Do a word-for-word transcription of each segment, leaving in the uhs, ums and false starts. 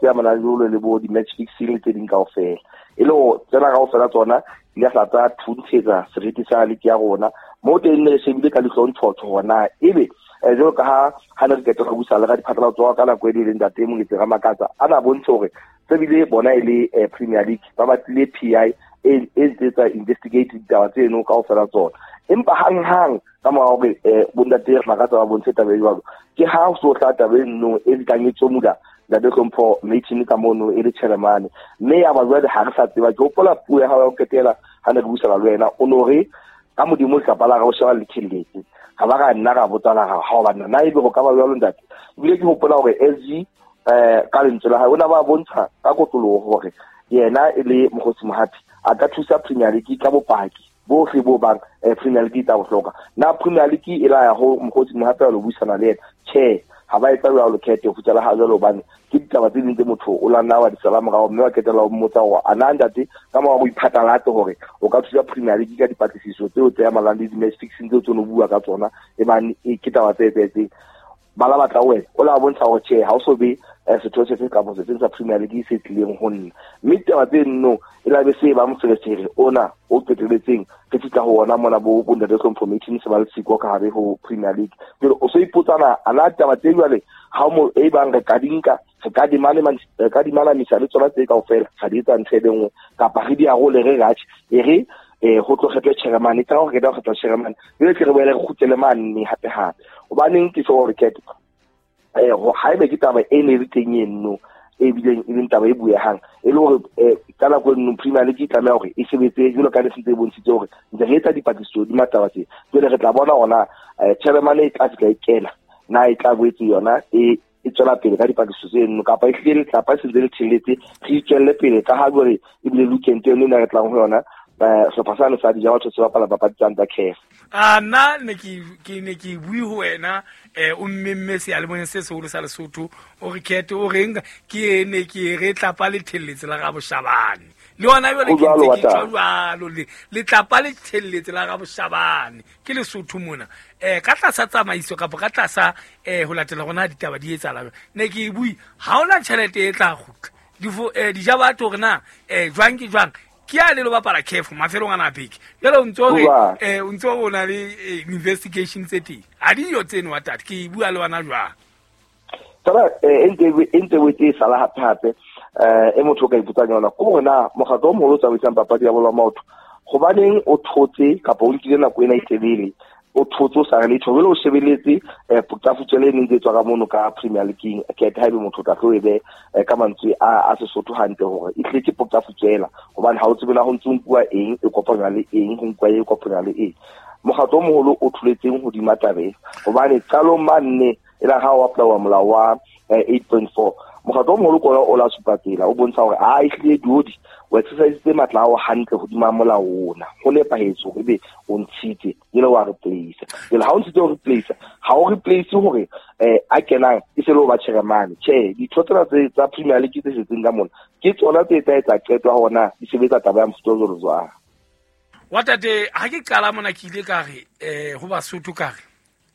tse amanang jolo le bo di-match fixing le tse ding kaofela. E le hore tsena kaofela tsona di a hla tsa thuntshetsa seriti sa league ya rona. Mo teng ne re shebile ka leihlo ntshotho hore na ebe eh, jwalo ka ha ha ne re qeta ho busa le ka diphatlalatso ka nako e leng ntate Moketsi Ramakatsa a na bontshe hore tse bile bona e le eh, Premier League ba batlile P I e e ntse tsa investigate ditaba tseno kaofela tsona. Empa hang-hang ka mora hore eh, bontate Ramakatsa ba bontshe taba e jwalo, ke ha ho so tla taba e nno e nkang e tsomula ntate Hlompho Martin ka mono e le chairman. Mme ya ba jwale ha re sa tseba, ke hopola puo ya hao ya ho qetela ha ne re buisana le wena, o no re ka modimo letlapa la gago sheba le tjhelete. Ga ba ra nna ra botsana ga ha o banna na ebe go ka ba jwalo ntate. Ebile ke hopola hore S G eh ka lentswe la hae o na ba bontsha ka kotloloho hore yena e le Mokgotsi Mohapi a ka thusa Premier League ka bopaki bohle bo bang eh, Premier League tsa bohloka. Na Premier League e la ya ho Mokgotsi Mohapi a lo buisana le yena? Tjhe, ha ba etsa jwalo khethe ho fihlela ha jwalo, hobane ke ditaba tse ding tse motho o la nna wa di sala morao, mme wa qetella o mmotsa hore a na ntate ka mora ho iphatlalatse hore o ka thusa Premier League ka dipatlisiso tseo tse amanang le di-match fixing tseo tse no bua ka tsona, e bang e ke taba tse etsahetseng. Ba la batla wena o la bontsha hore tjhe ha o so be eh, setho se fe kapa se seng sa Premier League se tlileng ho nna. Mme ditaba tse nno e la be se ba moferefere ona o qetelletseng re fihla ho ona mona bo bo ntate Hlompho Martin se ba le siko ka hare ho Premier League. Jwale o so ipotsana a na taba tse jwale ha mo e bang re ka di nka, re ka di mane man, re ka di manamisa le tsona tse kaofela, ga di etsa ntho e le nngwe, kapa re di arole re ratjhe, e re eh ho tlo kgethwe chairman, e tla hore re tla kgethwa chairman, jwale tle re boele re kgutlele mane hape hape. Hobaneng ke tjho hore khetho eh ho haebe ke taba e ne le teng eno e bileng e leng taba e buehang, e le hore eh ka nako e nngwe Premier League e tlameha hore e sebetse jwalo ka le sentse e bontshitse hore ntse re etsa dipatlisiso di mataba tse. Jwale re tla bona hore na eh chairman e tla fihla e kena, na e tla boetse yona e e tswela pele ka dipatlisiso tseno, kapa e hlile letlapa e sentse le theletse, re itswelle pele ka ha jwale ebile weekend eno e re tlang ho yona, eh, sehlopha sane sa dija batho se bapala papadi tsa tsa C A F. A nna ne ke, ke ne ke bue ho wena, eh, o mmemme seyalemoyeng se seholo sa Lesotho, o re khethe, o reng ke ne ke re tlapa le thelletse la Raboshabane. Le yona jwale Ho ke jwalo, ntse ke wa taba. tjho jwalo, le, letlapa le thelletse la Raboshabane ke Lesotho mona. Eh, ka tlasa tsamaiso kapa ka tlasa, eh, ho latela rona ditaba di etsahala jwang. Ne ke bue, ha hona tjhelete e tla kgutla. Difo, eh, di ja batho hore na, eh, jwang ke jwang. Ke a le lo bapala C A F mafelong ana a beke. Jwale o ntso re, Hoba. eh, o ntso o na le, eh, investigation tse teng. Ha di yo tseno wa tate, ke bua le wena jwang? Taba, eh, e ntse e, e ntse e e sala hape hape, eh, e motho o ka ipotsang yona, ke hore na mokgatlo o moholo o tsamaisang papadi ya bolo ya maoto, hobaneng o thotse kapa o nkile nako ena e telele, o thotse o sa re letho, jwale o shebeletse, eh, potafutswele e neng e tswa ka mono ka Premier League-ing, ke ha ebe motho o tla tlo e be, eh, ka mantswe a, a Sesotho hantle hore e hlile ke potafutswela, hobane ha o tsebe na ho ntso nkuwa eng, e kopanywa le eng, ho nkuwa e kopanywa le eng. Mokgatlo o moholo o tholetseng hodima taba e, hobane qalong mane e la ha o apply-wa molao wa, eh, eight point four, mokgatlo o moholo ke ona o la supa tsela, o bontsha hore a ehlile diodi o exercise matla a hao hantle hodima molao ona, ho nepahetse hore ebe o ntshitse jwale wa replace. Jwale ha o ntshitse ho replace, ha o replace hore, eh, a kenang e se le ho ba chairman. Tjhe, ditho tsena tse tsa Premier League tse setseng ka mona ke tsona tse tla etsa qeto ya hore na di sebetsa taba ya mofuta o jwalo jwang. Wa tate, ha ke qala mona ke ile ka re, eh, ho Basotho ka re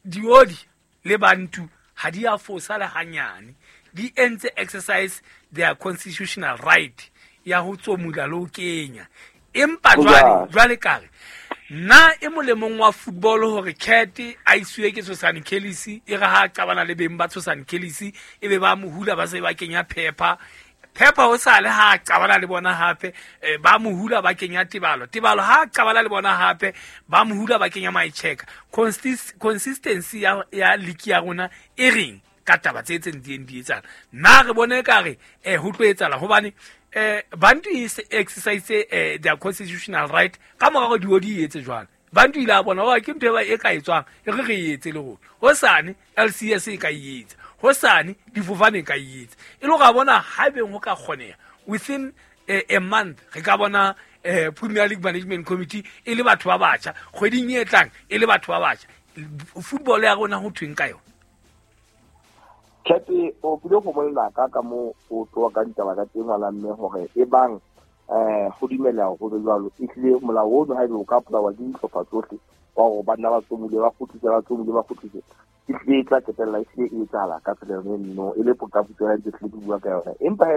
diodi le bantu ha di a fosa le hanyane, di entse exercise their constitutional right ya ho tsomula le ho kenya. Empa Ho jwale, jwalo. jwale ka re nna e molemong wa football hore Cat a isiwe ke Tshosane Kellis, e re ha a qabana le beng ba Tshosane Kellis, e be ba mo hula ba se ba kenya Pepper. Pepper ho sale ha a qabana le bona hape, eh, ba mo hula ba kenya Tebalo. Tebalo ha a qabana le bona hape, ba mo hula ba kenya Maicheka. Consist-, consistency ya, ya league ya rona e reng ka taba tse tse ntseng di etsahala? Nna re bone ekare, eh, ho tlo etsahala hobane, eh, Bantu e se exercise, eh, their constitutional right ka mora hore diodi e etse jwalo. Bantu ile a bona hore ke ntho e ba e ka etswang, e re re e etse le rona. Hosane L C S e ka e etsa, hosane difofane e ka e etsa. E le hore a bona haebeng ho ka kgoneha within a, a month re ka bona, eh, Premier League Management Committee e le batho ba batjha, kgweding e tlang e le batho ba batjha. Football ya rona ho thweng ka yona? Tshepe, o kile go bolela ka ka mo o tloha ka ditaba ka teng ngwana mme hore e bang, eh, ho dumela ho be jwalo, ehlile molao ono ha ebe o ka polawa ke dihlopha tsohle wa hore banna ba tsomule, ba kgutlise, ba tsomule, ba kgutlise, ehlile e tla qetella ehlile e etsahala ka tsela yone eno, e le potaputswela ntse hlile ke bua ka yona. Empa he